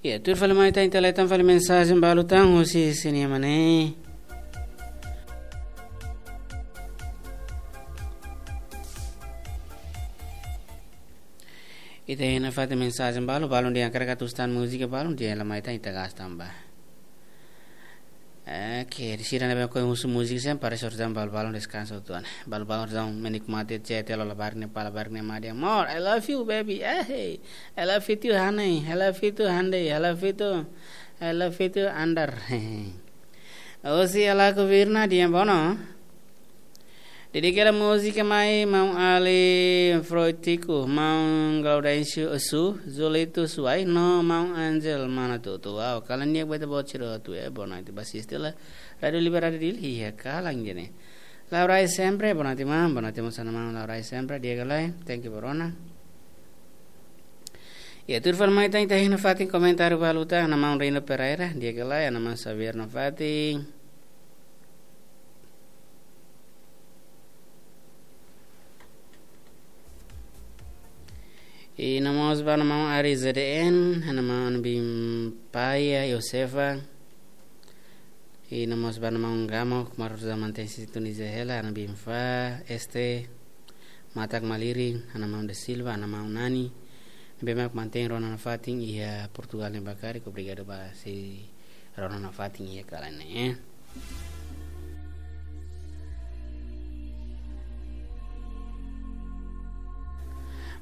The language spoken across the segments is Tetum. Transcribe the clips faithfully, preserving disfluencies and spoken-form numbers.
Ya, tuir fali mai ita, ita laitan fali mensajen balu tan husi sini mana. Ita iha nafatin mensajen balu, balun dehan hakarak atu escuta múzika, balun dehan la mai ita, ita gasta ba. Oke, sira ne'ebé husu múzika sempre para sorjan balu-balun deskansa hotu ona. Balu-balun menikmati C T lo labarik ne'e, pala labarik ne'e, mari dehan, "More, I love you, baby. Eh, hey. I love you too, honey. I love you too, honey. I love you too. I love you too, Andar." Osi alaku virna dia bono. Dedika hela múzika mai maun Ali Froitiku, maun Gaudêncio Osu, Zolito Suai, no maun Angel Manatutu. Wow, kalan di'ak ba ita-boot sira hotu, eh, boa noite ba asiste hela Rádio Liberdade Dili iha kalan ne'e. Laurai sempre, boa noite maun, boa noite maun, sana maun Laurai sempre, di'ak ka lae, thank you ba rona. Ya, tuir fali mai ita, ita iha nafatin komentáriu balu tan, hanesan maun Rino Pereira, di'ak ka lae, hanesan maun Xavier nafatin. I no mós ba hanesan maun Ari Z D N, hanesan maun Bimpaia Josefa. I no mós ba hanesan maun Gamo, kmaru za mantein sintonia hela, hanesan Bimfa, Este, Matak Malirin, hanesan maun De Silva, hanesan maun Nani. Ne'ebé mak mantein rona nafatin iha Portugal ne'e ba karik, obrigadu ba sei rona nafatin iha kalan ne'e.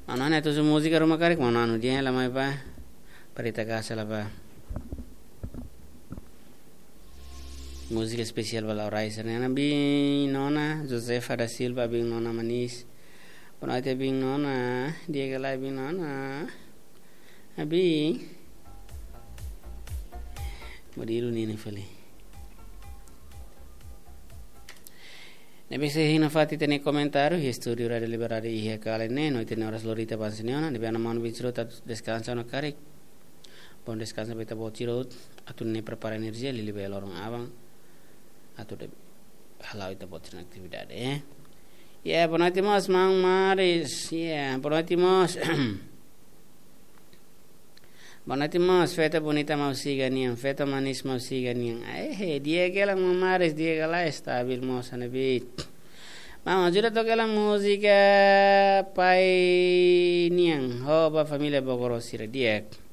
Maun Nani atu husu múzika ruma karik, maun Nani dehan la mai ba, para ita gasta la ba. Múzika espesiál ba Laurai sira-ne'e. Hanesan biin nona, Josefa da Silva, biin nona manis. Boa noite, biin nona. Di'ak ka lae, biin nona. Abi. Modelu ne'e ne'e fali. Ne'ebé sei iha nafatin ita-nia komentáriu, iha estúdiu Rádio Liberdade iha kalan ne'e, no ita-nia oras lori ita avansa ona, ne'ebé hanesan maun Vincent atu deskansa ona karik. Bom deskansa ba ita-boot sira hotu, atu nune'e prepara enerjia, liuliu ba loron aban, atu de hala'o ita-boot sira-nia atividade, eh. Ya, boa noite mós, maun Maris. Ya, boa noite mós. Boa noite mós, feto bonita maun Siga nian, feto manis maun Siga nian. Ai, he, di'ak ka lae maun Maris, di'ak ka lae, stabil mós hanesan ne'ebé. Maun, ajuda toka hela múzika Pai Nian, ho ba família Bogoro sira di'ak.